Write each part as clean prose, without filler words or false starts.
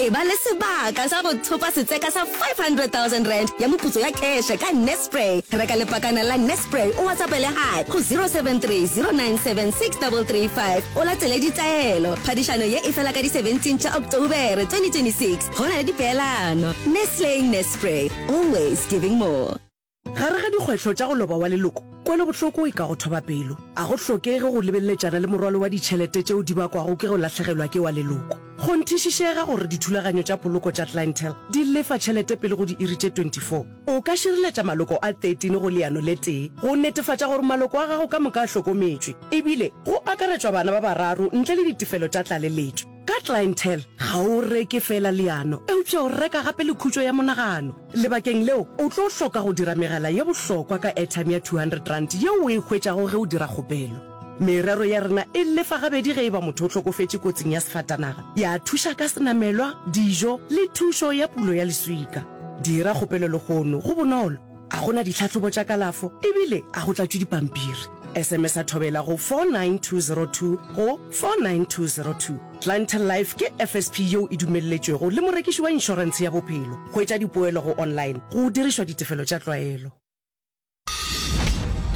Eba le sebaka sa go thopa setseka sa R500,000 ya moputso ya kheshe ka Nespray. Reka lepakana la Nespray o WhatsAppele Hi go 073 097 6335 o latele ditaelo. Phadišano ye e fela ka di 17 tša Oktobere 2026. Go na le dipeelano. Nestle Nespray, always giving more. Gare ga dikgwetlho tša go loba wa leloko, kwelobohloko e ka go thoba pelo. A go hlokege go lebeleletšana le morwalo wa ditšhelete tšeo di bakwago ke go lahlegelwa ke wa leloko. Kgonthišišega gore dithulaganyo tša poloko tša Clientele di lefa tšhelete pele go diiri tše 24. O ka šireletša maloko a 13 go leano le tee go netefatša gore maloko a gago ka moka a hlokometšwe, ebile go akaretšwa bana ba bararo ntle le ditefelo tša tlaleletšo. Ka Clientele, ga o reke feela leano, eupša o reka gape le khutšo ya monagano. Lebakeng leo, o tlo hloka go dira megala ye bohlokwa ka airtime ya R200 yeo o e hwetšago ge o dira kgopelo. Merero ya rena e lefa gabedi ge e ba motho o hlokofetše kotsing ya sefatanaga, ya thuša ka senamelwa, dijo le thušo ya pulo ya leswika. Dira kgopelo lehono, go bonolo, ga go na ditlhahlobo tša kalafo ebile ga go tlatšwe dipampiri. SMS-a Thobela go 49202 go 49202. Clientele Life ke FSP yeo e dumelletšwego le morekiši wa inšorentshe ya bophelo. Hwetša dipoelo go online go dirišwa ditefelo tša tlwaelo.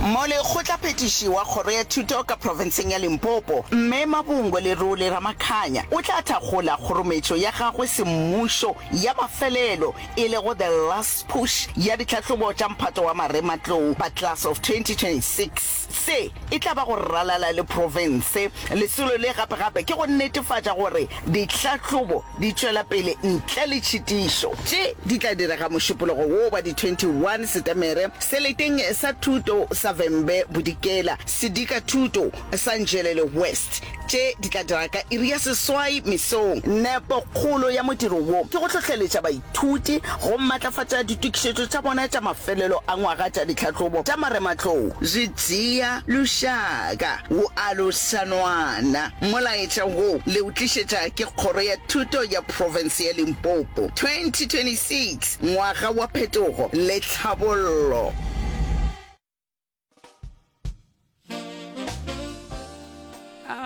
Molekgotlaphethiši wa Kgoro ya Thuto ka profenseng ya Limpopo, Mme Mabungwe Lerole Ramakhanya o tla thakgola kgorometšo ya gagwe semmušo ya mafelelo e lego The Last Push ya ditlhahlobo tša mphato wa marematlou ba Class of 2026. Se e tla ba go ralala le profense. Lesolo le gape-gape ke go netefatša gore ditlhahlobo di tšwela pele ntle le tšhitišo. Tše di tla direga Mošupologo wo wa di 21 Setemere seleteng sa thuto sa Vhembe Bodikela, Sedika Thuto sa Nzhelele West. Tše di tla dira ka iri ya seswai mesong. Nepokgolo ya modiro wo ke go hlohleletša baithuti go matlafatša ditokišetšo tša bona tša mafelelo a ngwaga tša ditlhahlobo tša marematlou. Zwi dzhia lushaka wu alusa nwana. Molaetša wo le o tlišetša ke Kgoro ya Thuto ya Profense ya Limpopo. 2026, Ngwaga wa Phetogo le Tlhabollo.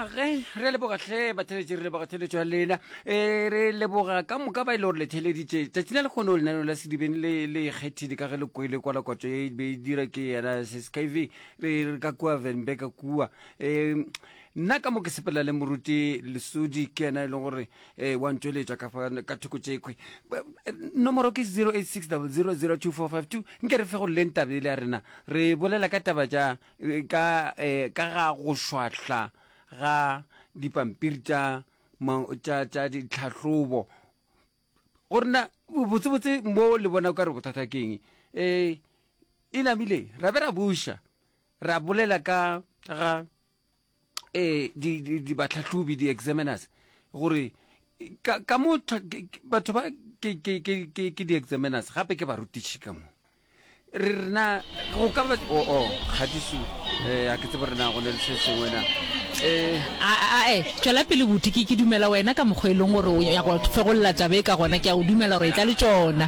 Ge re leboga hle batheletši re leboga theletšo ya lena um re leboga ka moka ba e le gore le theleditše tšatši la lekgono lenaneo la sedibeng le le ikgethile ka ge le kwele kwalakwatšo e be e dira ke yena seskv re ka kua venbe ka kua um nna ka mo ke sepela le moruti lesodi ke yena e leng gore um wa ntšweletša ka fa ka thoko tšekhwe nomoro ke 086 000 2452 nke re fe go leng tabe le ya rena re bolela ka taba tša ka eh, ka ga go šwahla ga dipampiri tša tša tša ditlhahlobo gore na botsebotse mo le bona ka re bothata keng um e namile ra be ra buša ra bolela ka ga um di batlhahlobi di-examiners gore ka, ka mo batho ba ke, ke, ke, ke, ke di-examiners gape ke barutiši ka mo re rena go ka ba o o kgatiso eh a ke tsebe rena go ne le se sengwe na eh a a e tšwela pele buti ke ke dumela wena ka mokgwa e leng gore o ya go fegolla taba e ka gona ke a o dumela gore e tla le tšona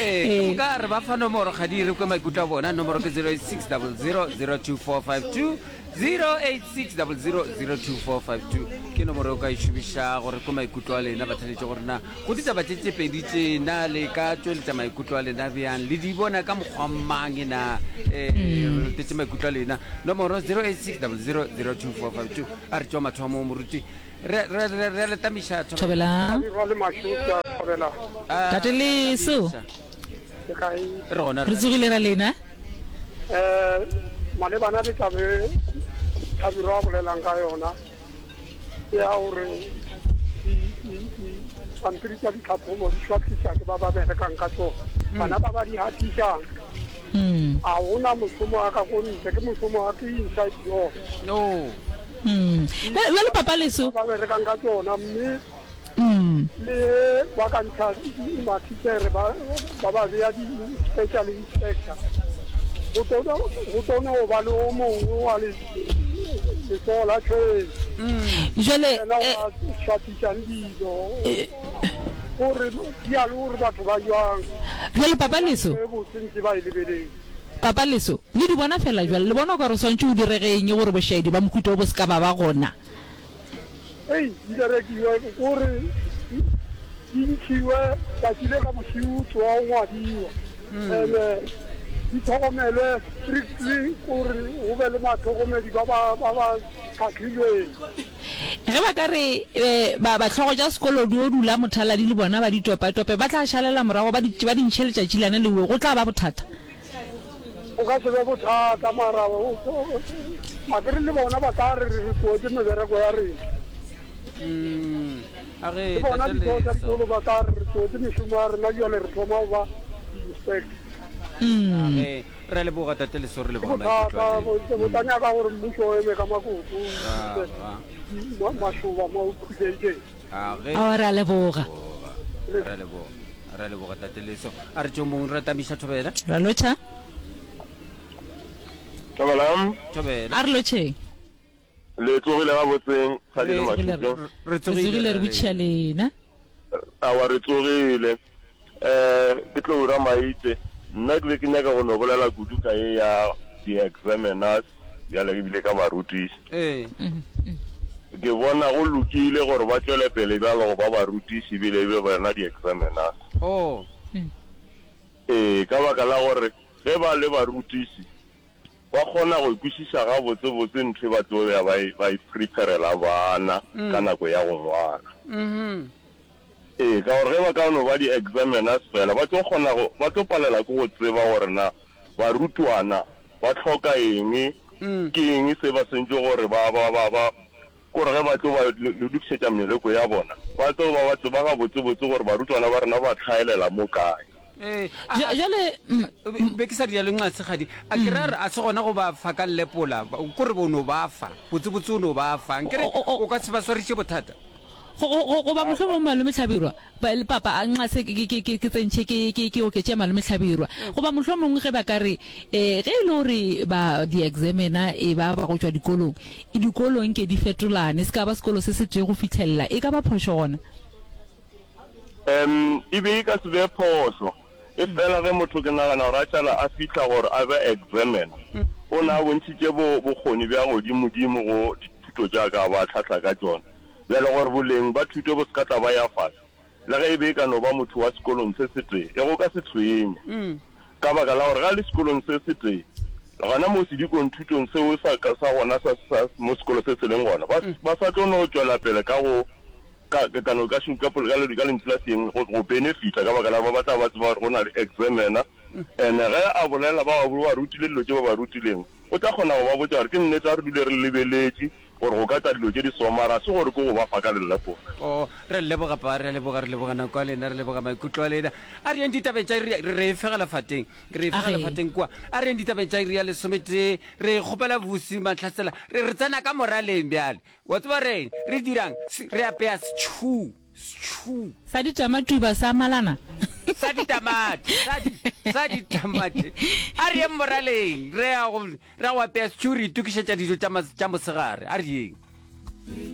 ee ke moka re ba fa nomoro ga di re kwe maikutlo a bona nomoro ke 086 00 02452 086 00 02452 ke nomoro e o ka e šomiša gore kwe maikutlo a lena batheletše gore na go ditaba tše tše pedi tše na le ka tšweletša maikutlo a lena bjang le di bona ka mokgwa mang na um re letetše maikutlo a lena nomoro 086 00 02452 a re tšwa mathomo moruti re re re re le tamiša Thobela. Ba le mašoša, thobela. Tate Leso. Le kae? Re gona Re tsogile ra lena. Eh, malebana le taba e Thabiro a bolelang ka yona ke ya gore dipampiri tša ditlhatlhobo di šwahliša ke ba ba berekang ka tsona. Bana ba ba di gatišang ga gona mošomo wa ka ko ntle, ke mošomo wa ke inside job. No. Bjale Papa Leso. Ba berekang ka tsona mme Le ba ka ntšha mathitšhere ba ba ba bea di-special inspector, go tlo go tlo no ba le o mongwe wa letsogo la tšhwene. Jwale Yena wa šwathišang dilo gore di ya le gore batho ba jwang. Jwale Papa Leso. E botse ntse ba e lebeletse. Papa Leso, le di bona fela jwale, le bona o ka re o swantše o direge eng gore bošaedi ba mohuta wo bo se ka ba ba gona? Ei, di berekiwe, ko re. Di ntšhiwe tšatši le ka bošego tsoga go ngwadiwa and di tlhokomelwe strictly gore go be le bahlokomedi ba ba ba ba hlahlilweng. Ge ba ka re ba ba hlogo tša sekolo di o dula mothaladi le bona ba di topatope ba tla šalela morago ba di ba di ntšhe letšatši lane lewe go tla ba bothata. Go ka se be bothata mara akere le bona ba tla re re tlogetše mebereko ya rena. Mm, a re Le bona Tate ditho tša Leso. dikolo ba tla re re tlogetše mešomo ya rena bjale re thoma go ba di-inspector. A re re a leboga Tate Leso, re Ke leboga maikutlo bothata, a bo lena. bo tla nyaka gore mmušo o eme ka makoto o Ah, ise ah. di- ma- mašoba mo khutšaitšeng. A re Aowa, re a leboga. leboga, re a leboga, re a leboga Tate Leso. A re tšeo mong re tamiša thobela. Ra lotšha. Thobela. Thobela. A re lotšheng. Le tsogile gabotseng, Kgadi le Re Mašupje? re Re tsogile tsogile re botšiša lena. Aowa, re tsogile. Um ke tlo Ramaite. Nna ke be ke nyaka go no bolela kudu ka ye ya di-examiners bjale ebile ka barutiši. Ee. Ke bona go lokile gore ba tšwele pele bjalo go ba barutiši ebile e be bona di-examiners. Oh. Ee, ka baka la gore ge ba le barutiši Ba kgona go kwešiša gabotsebotse ntho e ba tlo ya ba e, ba e preparela bana ka nako ya go ngwala. Ee, ka gore ge ba ka no ba di-examiners fela, ba tlo kgona go, ba tlo palela ke go tseba gore na barutwana ba hloka eng, ke eng se ba swantše gore ba, ba, ba, ba, kore ge ba tlo ba lokišetša meleko ya bona, ba tlo ba ba tseba gabotsebotse gore barutwana ba rena ba hlaelela mo kae. Ee, a, a, Jwale, be ke sa rialo Nxasekgadi, a ke ra re a se gona go ba fa ka lepola, kore o no ba fa, botsebotse o no ba fa, nkere o ka se ba swariše bothata. Go, go, go, goba mohlomong Malome Hlabirwa, ba, le papa, a nxa se ke, ke, ke, ke tsentšhe ke, ke, ke oketše Malome Hlabirwa. Goba mohlomongwe ge ba ka re, eh, ge e le gore ba di-examiner e ba ba go tšwa dikolong, dikolo nke di fetolane, se ka ba sekolo se setee go fihlelela, e ka ba phošo gona? Um, e be e ka se be phošo. Efela ge motho ke nagana gore a šala a fihla gore a be examiner, o na a bontšhitše bo, bokgoni bja godimodimo go dithuto tša ka ba hlahla ka tšona. Bjale gore boleng ba thuto bo se ka tla ba ya fase, le ge e be e ka no ba motho wa sekolong se setee, e go ka se tshwenye. Ka baka la gore ge a le sekolong se setee, gona mo sedikong thutong seo sa, sa gona sa, sa mo sekolo se se leng gona, ba, ba sa tlo no tšwela pele ka go, ka, ka no, ka, ka, ka, ka lentšu la seeng, go, go benefita, ka baka la gore ba tla ba tseba gore go na le examiner. And ge a bolela, ba ba rutile dilo tše ba ba rutileng, o tla kgona go ba botša gore ke nnete, a re dule re lebeletše Gore go ka tla dilo tše di so, mara ga se gore ke go ba fa ka lellepona. Oh, re a le leboga, Pa, re a leboga, re leboga nako ya lena, re leboga maikutlo a lena. A re yeng ditabeng tša iri, re e fegela fateng, re e fegela fateng kua. A re yeng ditabeng tša iri ya lesometee, re kgopela Vusi Mahlasela, re, re tsena ka moraleng bjale. Wa tseba reng? Re dirang? Re apea setšhuu, setšhuu. Sa ditamatuba sa malana. Sa ditamati, sa di, sa ditamati. A re yeng moraleng, re ya go, Ra go apea stew re itokišetša dijo tša, tša mosegare. A re yeng.